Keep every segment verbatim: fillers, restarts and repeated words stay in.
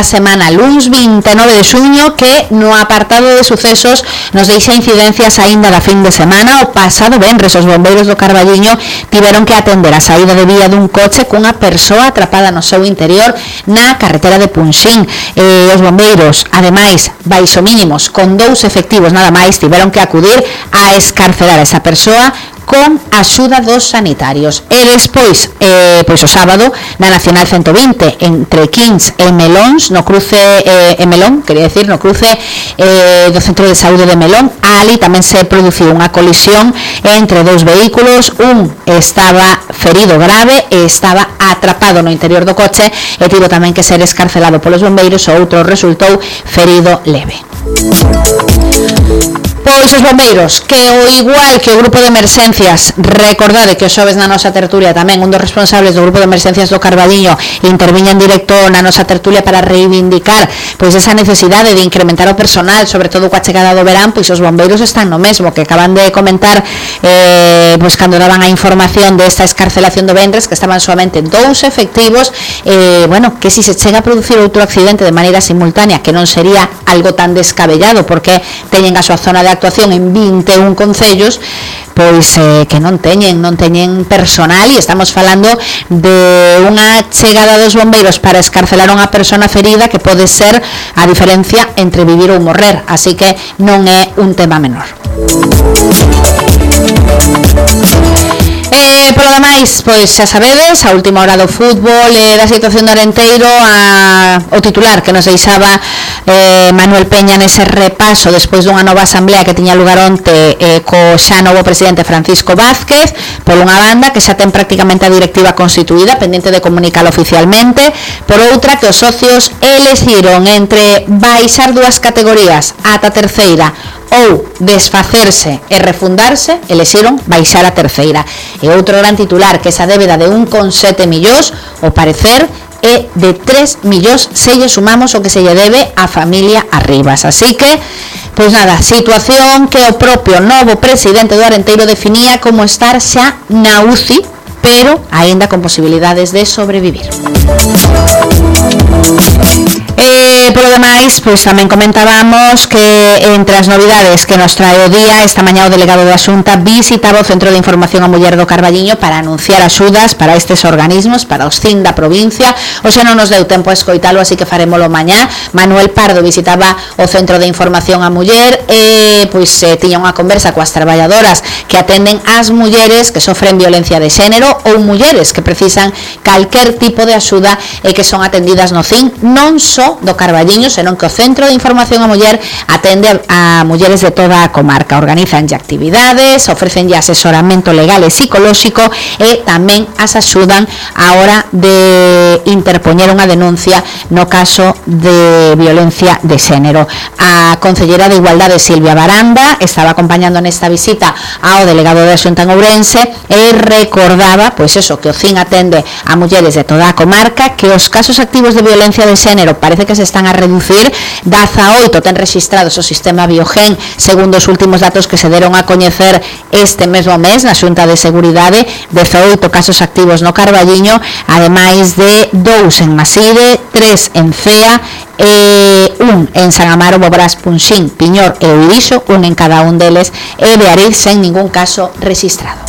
da semana luns vinte e nove de xuño, que no apartado de sucesos nos deixa incidencias aínda da fin de semana. O pasado venres os bombeiros do Carballiño tiveron que atender a saída de vía dun coche cunha persoa atrapada no seu interior na carretera de Punxín. Eh, os bombeiros, ademais, baixo mínimos, con dous efectivos nada máis, tiveron que acudir a escarcerar a esa persoa con axuda dos sanitarios. E despois, eh, pois o sábado, na Nacional ciento vinte, entre Quins e Melóns, no cruce eh, e Melón, quería decir, no cruce eh, do Centro de Saúde de Melón, ali tamén se produciu unha colisión entre dous vehículos. Un estaba ferido grave e estaba atrapado no interior do coche e tivo tamén que ser escarcelado polos bombeiros. O outro resultou ferido leve. Pois os bombeiros, que o igual que o grupo de emerxencias, recordade que o xoves na nosa tertulia tamén un dos responsables do grupo de emerxencias do Carballiño interviña en directo na nosa tertulia para reivindicar pois esa necesidade de incrementar o personal, sobre todo coa chegada do verán. Pois os bombeiros están no mesmo, que acaban de comentar eh, pois cando daban a información desta escarcelación do venres, que estaban solamente dous efectivos. Eh, bueno, que si se chega a producir outro accidente de maneira simultánea, que non sería algo tan descabellado, porque teñen a súa zona de actuación en vinte e un concellos, pois eh, que non teñen non teñen personal, e estamos falando de unha chegada dos bombeiros para escarcelar a unha persona ferida que pode ser a diferencia entre vivir ou morrer, así que non é un tema menor. Eh, polo demais, pois xa sabedes, a última hora do fútbol e eh, da situación do Arenteiro, a, o titular que nos deixaba eh, Manuel Peña nese repaso despois dunha nova asamblea que tiña lugar onte eh, co xa novo presidente Francisco Vázquez, por unha banda que xa ten prácticamente a directiva constituída, pendiente de comunicalo oficialmente, por outra que os socios elixiron entre baixar dúas categorías ata terceira ou desfacerse e refundarse, elixiron baixar a terceira. E outro gran titular, que esa débeda de un coma sete millóns, o parecer é de tres millóns se lle sumamos o que se lle debe a familia Arribas. Así que, pois nada, situación que o propio novo presidente do Arenteiro definía como estar xa na U C I, pero aínda con posibilidades de sobrevivir. Eh, polo demais, pois tamén comentábamos que entre as novidades que nos trae o día, esta mañá o delegado da Xunta visitaba o Centro de Información a Muller do Carballiño para anunciar axudas para estes organismos, para os C I N da provincia. O xa non nos deu tempo a escoitalo, así que farémolo mañá. Manuel Pardo visitaba o Centro de Información a Muller e pois eh, tiña unha conversa coas traballadoras que atenden as mulleres que sofren violencia de xénero ou mulleres que precisan calquer tipo de axuda e que son atendidas no C I N, non só do Carballiño, senón que o Centro de Información a Muller atende a mulleres de toda a comarca. Organizanlle actividades, ofrecenlle asesoramento legal e psicolóxico e tamén as axudan a hora de interpoñer unha denuncia no caso de violencia de xénero. A Concellera de Igualdade, Silvia Baranda, estaba acompañando nesta visita ao delegado da Xunta en Ourense e recordaba, pois eso, que o C I N atende a mulleres de toda a comarca, que os casos activos de violencia de xénero parece que se están a reducir. Dezaoito ten registrados o sistema Biogen, segundo os últimos datos que se deron a coñecer este mesmo mes na Xunta de Seguridade. Dezaoito casos activos no Carballiño, ademais de dous en Maside, tres en Cea e un en San Amaro, Bobrás, Punxín, Piñor e Uirixo, un en cada un deles, e de Ariz sen ningún caso registrado.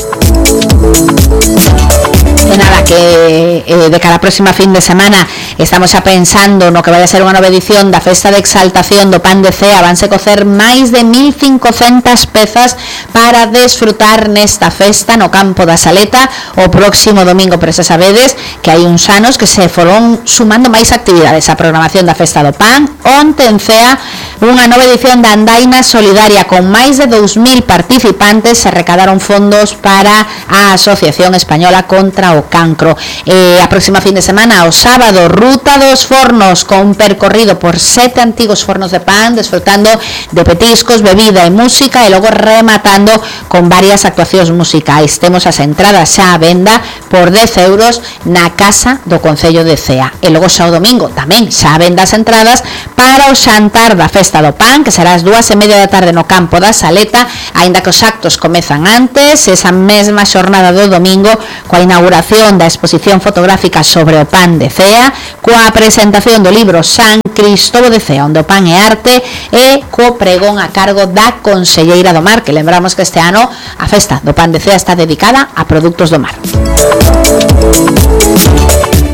E nada, que eh, de cara a próxima fin de semana estamos xa pensando no que vai a ser unha nova edición da Festa de Exaltación do Pan de Cea. Vanse cocer máis de mil cincocentas pezas para desfrutar nesta festa no campo da Saleta o próximo domingo. Pero xa sabedes que hai uns anos que se foron sumando máis actividades á programación da Festa do Pan. Onte en Cea unha nova edición da Andaina Solidaria con máis de dous mil participantes. Se recadaron fondos para a Asociación Española contra o Cancro. Eh, a próxima fin de semana, o sábado, Ruta dos Fornos con percorrido por sete antigos fornos de pan, desfrutando de petiscos, bebida e música, e logo rematando con varias actuacións musicais. Temos as entradas xa a venda por dez euros na Casa do Concello de Cea. E logo xa o domingo tamén xa a venda as entradas para o xantar da Festa do Pan, que será as dúas e media da tarde no campo da Saleta, aínda que os actos comezan antes, esa mesma xornada do domingo, coa inauguración da exposición fotográfica sobre o pan de Cea, coa presentación do libro San Cristovo de Cea, onde o pan e arte e co pregón a cargo da Conselleira do Mar, que lembramos que este ano a festa do pan de Cea está dedicada a produtos do mar.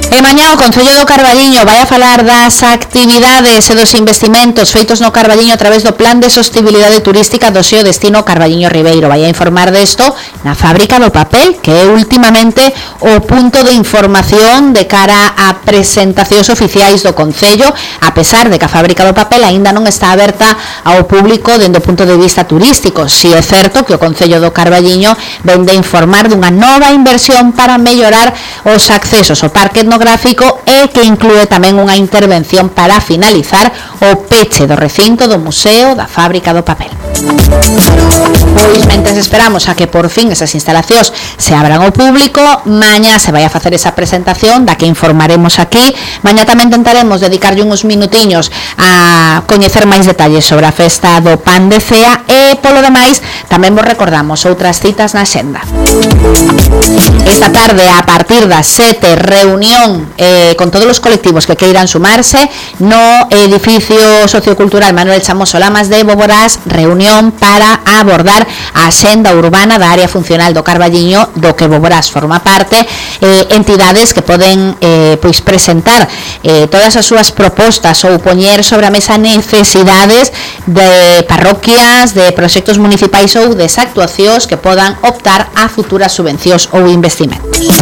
E mañá o Concello do Carballiño vai a falar das actividades e dos investimentos feitos no Carballiño a través do Plan de Sostibilidade Turística do seu destino Carballiño Ribeiro. Vai a informar desto na Fábrica do Papel, que é últimamente o punto de información de cara a presentacións oficiais do Concello, a pesar de que a Fábrica do Papel aínda non está aberta ao público dende o punto de vista turístico. Si é certo que o Concello do Carballiño vende a informar dunha nova inversión para mellorar os accesos ao parque etnográfico e que inclúe tamén unha intervención para finalizar o peche do recinto do Museo da Fábrica do Papel. Pois, mentres esperamos a que por fin esas instalacións se abran ao público, mañá se vai a facer esa presentación da que informaremos aquí. Mañá tamén tentaremos dedicarlle uns minutiños a coñecer máis detalles sobre a festa do pan de Cea e, polo demais, tamén vos recordamos outras citas na xenda. Esta tarde, a partir das sete, reunión eh, con todos os colectivos que queiran sumarse no edificio sociocultural Manuel Chamoso Lamas de Boborás, reunión para abordar a axenda urbana da área funcional do Carballiño, do que Boborás forma parte, eh, entidades que poden eh, pois presentar eh, todas as súas propostas ou poñer sobre a mesa necesidades de parroquias, de proxectos municipais ou desactuacións que podan optar a futuras subvencións ou investimentos.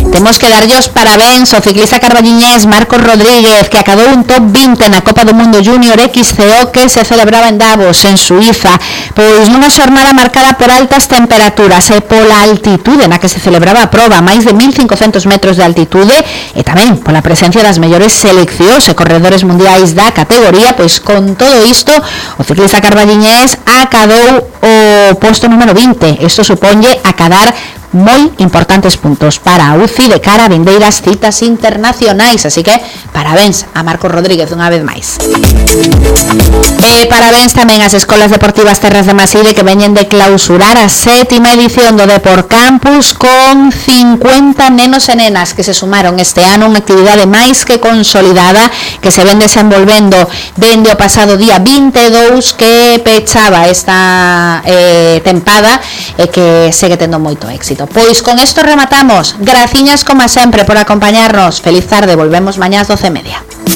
Temos que darlle os parabéns ao ciclista carballiñés Marcos Rodríguez, que acadou un top vinte na Copa do Mundo Júnior X C O que se celebraba en Davos, en Suiza, pois nunha xornada marcada por altas temperaturas e pola altitude na que se celebraba a proba, máis de mil cincocentos metros de altitude, e tamén pola presencia das mellores seleccións e corredores mundiais da categoría. Pois con todo isto, o ciclista carballiñés acadou o posto número vinte. Isto suponlle acadar moi importantes puntos para a U C I de cara a vindeiras citas internacionais, así que parabéns a Marcos Rodríguez unha vez máis. E parabéns tamén ás Escolas Deportivas Terras de Maside, que veñen de clausurar a sétima edición do Deport Campus con cincuenta nenos e nenas que se sumaron este ano, unha actividade máis que consolidada que se ven desenvolvendo dende o pasado día vinte e dous, que pechaba esta eh, tempada e que segue tendo moito éxito. Pois con isto rematamos. Graciñas como sempre por acompañarnos. Feliz tarde, volvemos mañá ás doce e media.